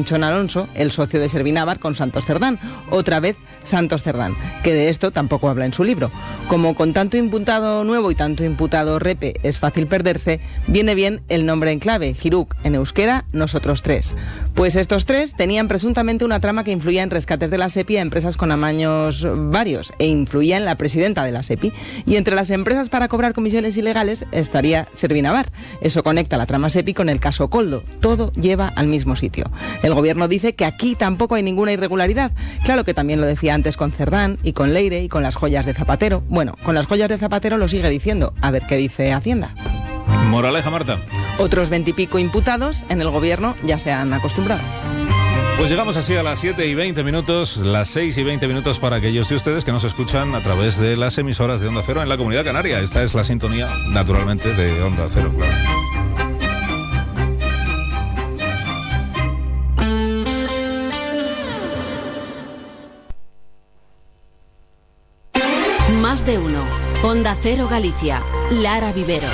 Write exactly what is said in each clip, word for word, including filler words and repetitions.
Chon Alonso, el socio de Servinavar, con Santos Cerdán, otra vez Santos Cerdán, que de esto tampoco habla en su libro. Como con tanto imputado nuevo y tanto imputado repe es fácil perderse, viene bien el nombre en clave, Hiruk, en euskera, nosotros tres. Pues estos tres tenían presuntamente una trama que influía en rescates de la SEPI a empresas con amaños varios e influía en la presidenta de la SEPI. Y entre las empresas para cobrar comisiones ilegales estaría Servinavar. Eso conecta la trama SEPI con el caso Koldo. Todo lleva al mismo sitio. El gobierno dice que aquí tampoco hay ninguna irregularidad. Claro que también lo decía antes con Cerdán y con Leire y con las joyas de Zapatero. Bueno, con las joyas de Zapatero lo sigue diciendo. A ver qué dice Hacienda. Moraleja, Marta. Otros veintipico imputados en el gobierno ya se han acostumbrado. Pues llegamos así a las siete y veinte minutos, las seis y veinte minutos para aquellos de ustedes que nos escuchan a través de las emisoras de Onda Cero en la Comunidad Canaria. Esta es la sintonía, naturalmente, de Onda Cero, claro. Más de uno. Onda Cero Galicia. Lara Vivero.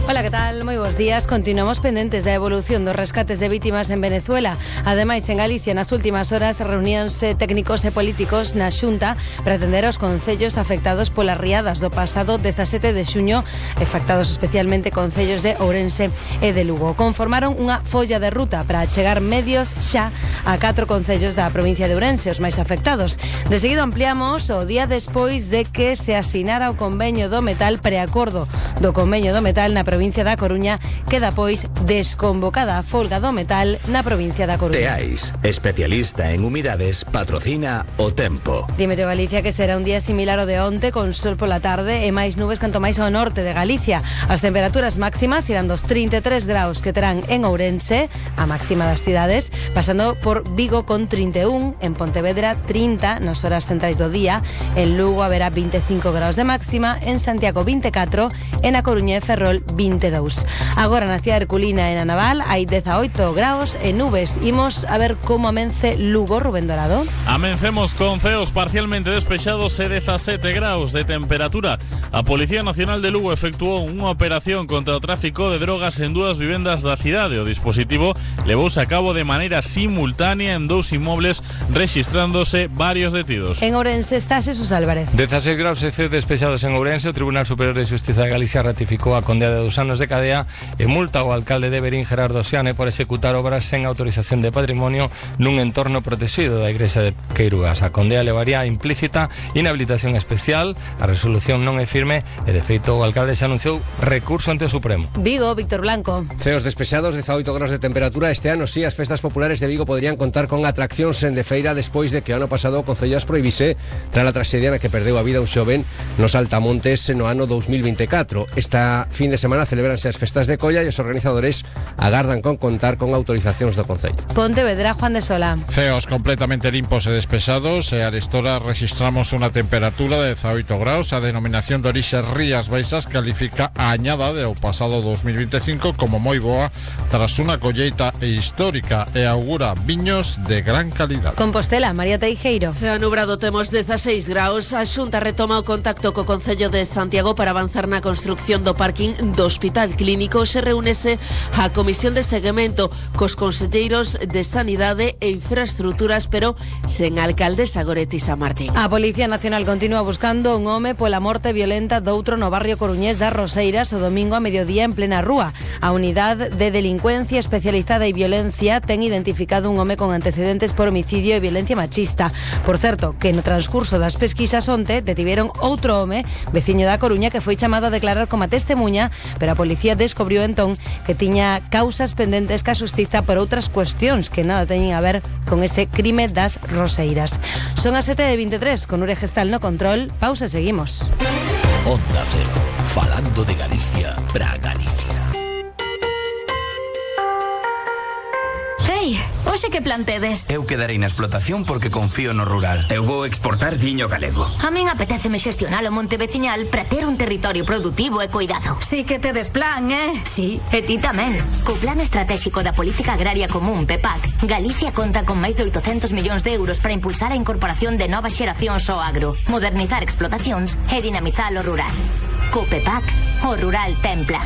Hola, ¿qué tal? Moi bons días. Continuamos pendentes da evolución dos rescates de vítimas en Venezuela. Ademais, en Galicia, nas últimas horas, reuniónse técnicos e políticos na Xunta para atender aos concellos afectados polas riadas do pasado dezasete de xuño, afectados especialmente concellos de Ourense e de Lugo. Conformaron unha folla de ruta para chegar medios xa a catro concellos da provincia de Ourense, os máis afectados. De seguido ampliamos o día despois de que se asinara o convenio do metal, preacordo do convenio do metal na provincia da Coruña, queda pois desconvocada a folga do metal na provincia da Coruña. Teais, especialista en humidades, patrocina o tempo. Dime, Galicia, que será un día similar ao de onte, con sol pola tarde e máis nubes canto máis ao norte de Galicia. As temperaturas máximas irán dos trinta e tres graus que terán en Ourense, a máxima das cidades, pasando por Vigo con trinta e un, en Pontevedra trinta nas horas centrais do día, en Lugo haberá vinte e cinco graus de máxima, en Santiago vinte e catro, e na Coruña e Ferrol vinte e dous. Agora na cidade Herculina e na Naval hai dezaoito graus e nubes. Imos a ver como amence Lugo, Rubén Dorado. Amencemos con ceos parcialmente despexados e dezasete graus de temperatura. A Policía Nacional de Lugo efectuou unha operación contra o tráfico de drogas en dúas vivendas da cidade. O dispositivo levouse a cabo de maneira simultánea en dous inmobles, rexistrándose varios detidos. En Ourense está Xesús Álvarez. dezasete graus e ceos despexados en Ourense. O Tribunal Superior de Xustiza de Galicia ratificou a condena de dos anos de cadea e multa ao alcalde de Verín, Gerardo Xiane, por executar obras sen autorización de patrimonio nun entorno protegido da igrexa de Queirugas. A condena levaría implícita inhabilitación especial. A resolución non é firme e, de feito, o alcalde xa anunciou recurso ante o Supremo. Vigo, Víctor Blanco. Ceos despexados, dezaoito graus de temperatura. Este ano, sí, as festas populares de Vigo podrían contar con atraccións en de feira despois de que o ano pasado o Concello as prohibise tras a traxedia na que perdeu a vida un xoven nos Altamontes no ano dos mil vinte e catro. Esta fin de semana celebranse as festas de Colla e os organizadores agardan con contar con autorizacións do Concello. Pontevedra, Juan de Sola. Ceos completamente limpos e despexados e a arestora registramos unha temperatura de dezaoito graus. A denominación de orixe Rías Baixas califica a añada do pasado dos mil vinte e cinco como moi boa tras unha colleita histórica e augura viños de gran calidad. Compostela, María Teijeiro. Ceo nubrado, temos dezaseis graus. A Xunta retoma o contacto co Concello de Santiago para avanzar na construcción do parking do Hospital Clínico. Se reúnese a Comisión de Seguimento cos conselleiros de Sanidade e Infraestructuras, pero sen alcaldesa Goretti Samartín. A Policía Nacional continúa buscando un home pola morte violenta doutro no barrio coruñés das Roseiras o domingo a mediodía en plena rúa. A Unidade de Delincuencia Especializada e Violencia ten identificado un home con antecedentes por homicidio e violencia machista. Por certo, que no transcurso das pesquisas onte detiveron outro home, veciño da Coruña, que foi chamado a declarar como testemunha, pero a policía descubriu entón que tiña causas pendentes ca xustiza por outras cuestións que nada teñen a ver con ese crime das Roseiras. Son as sete e vinte e tres, con Ure Gestal no control. Pausa, seguimos. Onda Cero, falando de Galicia para Galicia. Ei, hoxe que plantedes? Eu quedarei na explotación porque confío no rural. Eu vou exportar viño galego. A min apetéceme xestionar o monte veciñal para ter un territorio productivo e cuidado. Sí que tedes plan, eh? Sí, e ti tamén. Co Plan Estratégico da Política Agraria Común, P E P A C, Galicia conta con máis de oitocentos millóns de euros para impulsar a incorporación de novas xeracións ao agro, modernizar explotacións e dinamizar o rural. Co P E P A C, o rural ten plan.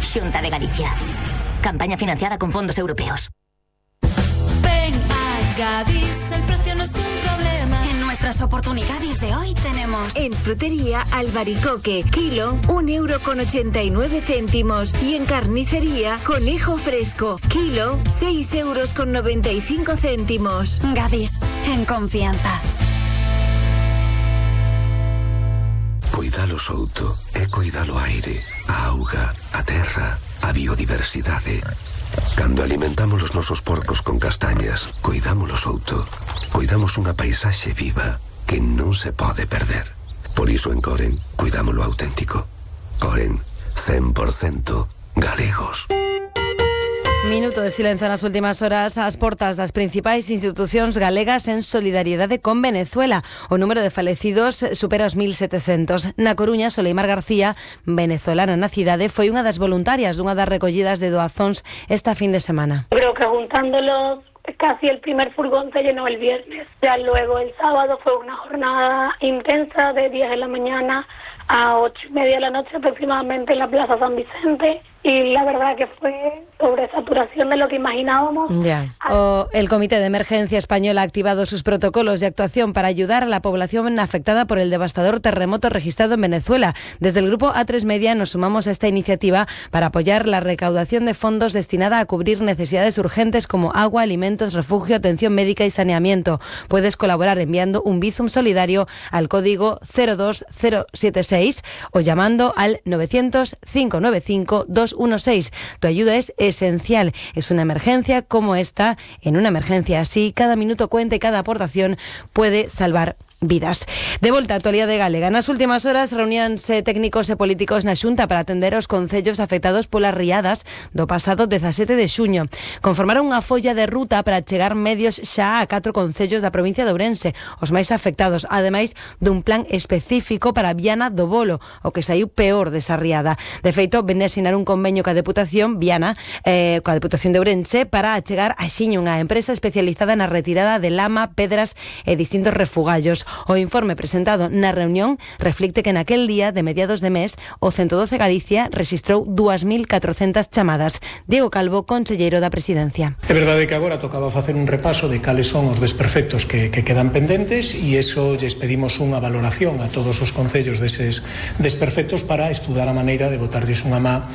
Xunta de Galicia. Campaña financiada con fondos europeos. Ven a Gadis, el precio no es un problema. En nuestras oportunidades de hoy tenemos en frutería albaricoque, kilo, un euro con ochenta y nueve céntimos. Y en carnicería, conejo fresco, kilo, seis euros con noventa y cinco céntimos. Gadis, en confianza. Cuidalo Souto é cuidalo aire, a auga, a terra, a biodiversidade. Cando alimentamos os nosos porcos con castañas, cuidámolo Souto. Cuidamos unha paisaxe viva que non se pode perder. Por iso en Coren, cuidámolo auténtico. Coren, cen por cento galegos. Minuto de silencio nas últimas horas ás portas das principais institucións galegas en solidariedade con Venezuela. O número de falecidos supera os mil setecentos. Na Coruña, Soleimar García, venezolana na cidade, foi unha das voluntarias dunha das recollidas de doazóns esta fin de semana. Creo que juntándolos casi el primer furgón se llenó el viernes. Ya luego el sábado fue una jornada intensa de diez de la mañana a ocho y media de la noche aproximadamente en la Plaza San Vicente. Y la verdad que fue sobresaturación de lo que imaginábamos. Ya. O el Comité de Emergencia Español ha activado sus protocolos de actuación para ayudar a la población afectada por el devastador terremoto registrado en Venezuela. Desde el grupo A tres Media nos sumamos a esta iniciativa para apoyar la recaudación de fondos destinada a cubrir necesidades urgentes como agua, alimentos, refugio, atención médica y saneamiento. Puedes colaborar enviando un Bizum solidario al código cero dos cero siete seis o llamando al novecientos, cinco nueve cinco, dos uno seis. Tu ayuda es esencial. Es una emergencia como esta. En una emergencia así, cada minuto cuenta y cada aportación puede salvar vidas. De volta á actualidade galega. Nas últimas horas reuníanse técnicos e políticos na Xunta para atender aos concellos afectados polas riadas do pasado dezasete de xuño. Conformaron unha folla de ruta para chegar medios xa a catro concellos da provincia de Ourense, os máis afectados, ademais dun plan específico para Viana do Bolo, o que saiu peor desa riada. De feito, vende a asinar un convenio coa Deputación Viana, eh, coa Deputación de Ourense, para achegar a Xiño, unha empresa especializada na retirada de lama, pedras e distintos refugallos. O informe presentado na reunión reflicte que naquel día de mediados de mes o ciento doce Galicia rexistrou dúas mil catrocentas chamadas. Diego Calvo, conselleiro da Presidencia. É verdade que agora tocaba facer un repaso de cales son os desperfectos que, que quedan pendentes e iso lles pedimos unha valoración a todos os concellos deses desperfectos para estudar a maneira de botarlles unha má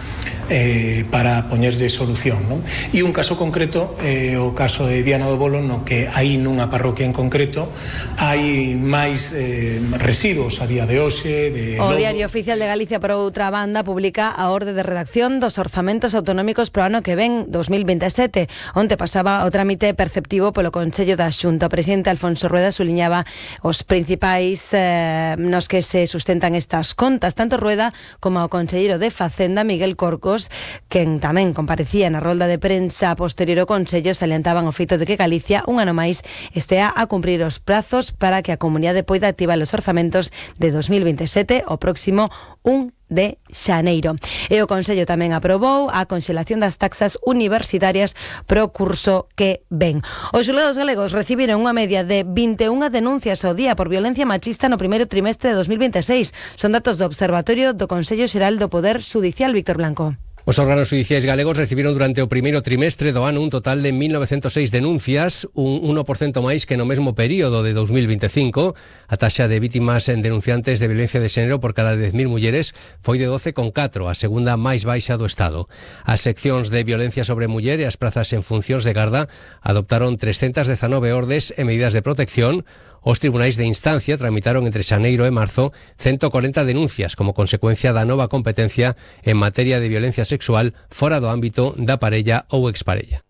eh, para poñerlle solución, non? E un caso concreto, eh, o caso de Viana do Bolo, no que aí nunha parroquia en concreto hai máis eh, residuos a día de hoxe. De o lodo. Diario Oficial de Galicia, por outra banda, publica a orde de redacción dos orzamentos autonómicos pro ano que ven, dos mil veintesete, onde pasaba o trámite perceptivo polo Consello da Xunta. O presidente Alfonso Rueda suliñaba os principais eh, nos que se sustentan estas contas, tanto Rueda como o conselleiro de Facenda, Miguel Corcos, quen tamén comparecía na rolda de prensa posterior ao Consello, salientaban o feito de que Galicia, un ano máis, estea a cumprir os prazos para que a comunidade poida activar os orzamentos de dos mil veintesete o próximo un de xaneiro. E o Consello tamén aprobou a conxelación das taxas universitarias pro curso que ven. Os xulgados galegos recibiron unha media de vinte e unha denuncias ao día por violencia machista no primeiro trimestre de dos mil veintiséis. Son datos do Observatorio do Consello Xeral do Poder Xudicial. Víctor Blanco. Os órganos judiciais galegos recibiron durante o primeiro trimestre do ano un total de mil novecentos e seis denuncias, un uno por cento máis que no mesmo período de dos mil veinticinco. A taxa de vítimas en denunciantes de violencia de xénero por cada dez mil mulleres foi de doce coma catro, a segunda máis baixa do Estado. As seccións de violencia sobre muller e as prazas en funcións de garda adoptaron trescentas dezanove ordes e medidas de protección. Os tribunais de instancia tramitaron entre xaneiro e marzo ciento cuarenta denuncias como consecuencia da nova competencia en materia de violencia sexual fora do ámbito da parella ou exparella.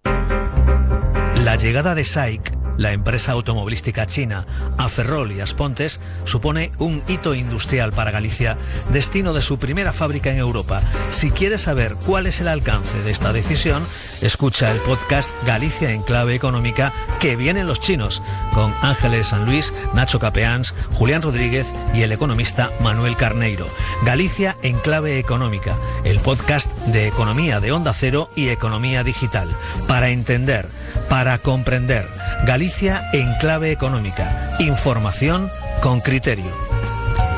La llegada de S A I C, la empresa automovilística china, a Ferrol y Aspontes supone un hito industrial para Galicia, destino de su primera fábrica en Europa. Si quieres saber cuál es el alcance de esta decisión, escucha el podcast Galicia en clave económica, que vienen los chinos, con Ángeles San Luis, Nacho Capeans, Julián Rodríguez y el economista Manuel Carneiro. Galicia en clave económica, el podcast de economía de Onda Cero y economía digital. Para entender, para comprender. Galicia en clave económica. Información con criterio.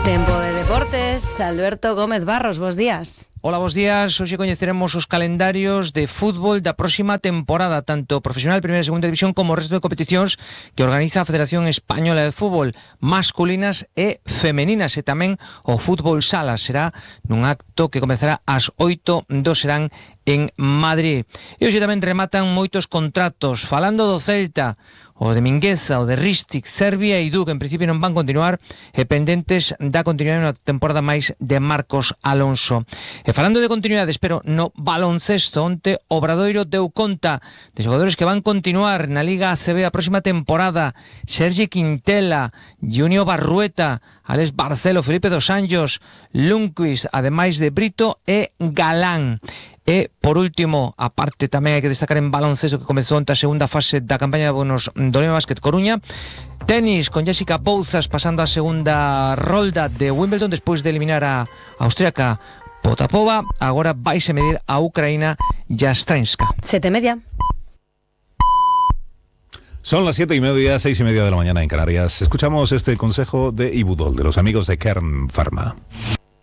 Tempo de deportes. Deportes, Alberto Gómez Barros, bos días. Hola, bos días. Hoxe coñeceremos os calendarios de fútbol da próxima temporada, tanto profesional, primeira e segunda división, como o resto de competicións que organiza a Federación Española de Fútbol, masculinas e femeninas, e tamén o fútbol sala. Será nun acto que comezará ás oito do serán en Madrid. E hoxe tamén rematan moitos contratos. Falando do Celta, o de Mingueza, o de Ristic, Serbia e Duque, en principio non van continuar, e pendentes da continuidade na temporada máis de Marcos Alonso. E falando de continuidades, pero no baloncesto, onte Obradoiro deu conta de xogadores que van continuar na Liga A C B a próxima temporada: Sergi Quintela, Junior Barrueta, Alex Barcelo, Felipe dos Anjos, Lundqvist, ademais de Brito e Galán. E, por último, a parte tamén hai que destacar en baloncesto que comezou onte a segunda fase da campaña de bonos do Lema Básquet Coruña. Tenis, con Jessica Pouzas pasando a segunda rolda de Wimbledon despois de eliminar a austríaca Potapova. Agora vaise medir a Ucraína Yastremska. Sete media. Son las siete y media, seis y media de la mañana en Canarias. Escuchamos este consejo de Ibudol, de los amigos de Kern Pharma.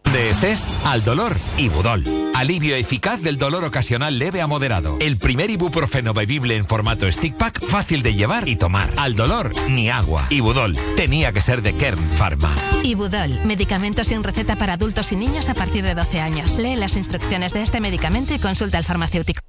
De estrés al dolor, Ibudol. Alivio eficaz del dolor ocasional leve a moderado. El primer ibuprofeno bebible en formato stick pack, fácil de llevar y tomar. Al dolor, ni agua. Ibudol. Tenía que ser de Kern Pharma. Ibudol. Medicamento sin receta para adultos y niños a partir de doce años. Lee las instrucciones de este medicamento y consulta al farmacéutico.